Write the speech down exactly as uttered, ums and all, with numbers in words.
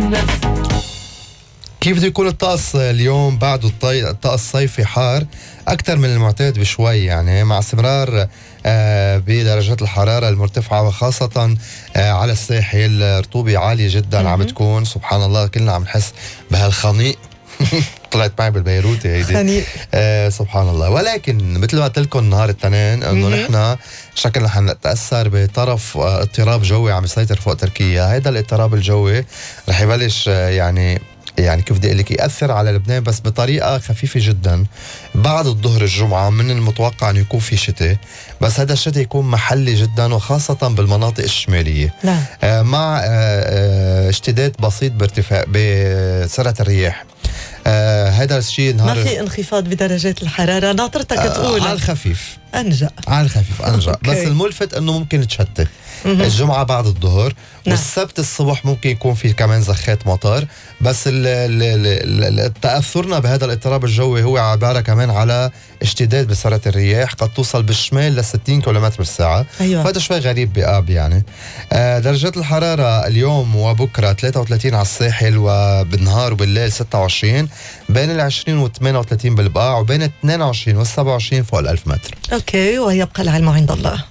النفس. كيف بده يكون الطقس اليوم بعد الطي... الطقس الصيفي حار أكثر من المعتاد بشوي، يعني مع استمرار آه بدرجات الحرارة المرتفعة، وخاصة آه على الساحل رطوبة عالية جدا عم تكون. سبحان الله كلنا عم نحس بهالخنيق طلعت معي بالبيروتي هيدي آه سبحان الله. ولكن مثل ما قلت لكم نهار الاثنين انه نحن شكلنا رح نتاثر بطرف آه اضطراب جوي عم يسيطر فوق تركيا. هذا الاضطراب الجوي رح يبلش آه يعني يعني كيف بدي اقول لك ياثر على لبنان بس بطريقه خفيفه جدا. بعد الظهر الجمعه من المتوقع انه يكون في شتاء، بس هذا الشتاء يكون محلي جدا وخاصه بالمناطق الشماليه. نعم. آه مع آه آه اشتداد بسيط بارتفاع بسرعه الرياح. آه هذا الشيء ما في انخفاض بدرجات الحراره، ناطرتك آه تقول على الخفيف انجا على الخفيف انجا بس الملفت انه ممكن تشتي الجمعه بعد الظهر. نعم. والسبت الصبح ممكن يكون في كمان زخات مطر، بس تاثرنا بهذا الاضطراب الجوي هو عباره كمان على اشتداد بسرعه الرياح قد توصل بالشمال ل ستين كيلومتر بالساعه. أيوة. وهذا شوي غريب بآب يعني. آه درجات الحراره اليوم وبكره ثلاثة وثلاثين على الساحل، وبالنهار وبالليل ستة وعشرين، بين ال عشرين و ثمانية وثلاثين بالبقاع، وبين اثنين وعشرين و سبعة وعشرين فوق الألف متر. اوكي، ويبقى العلم عند الله.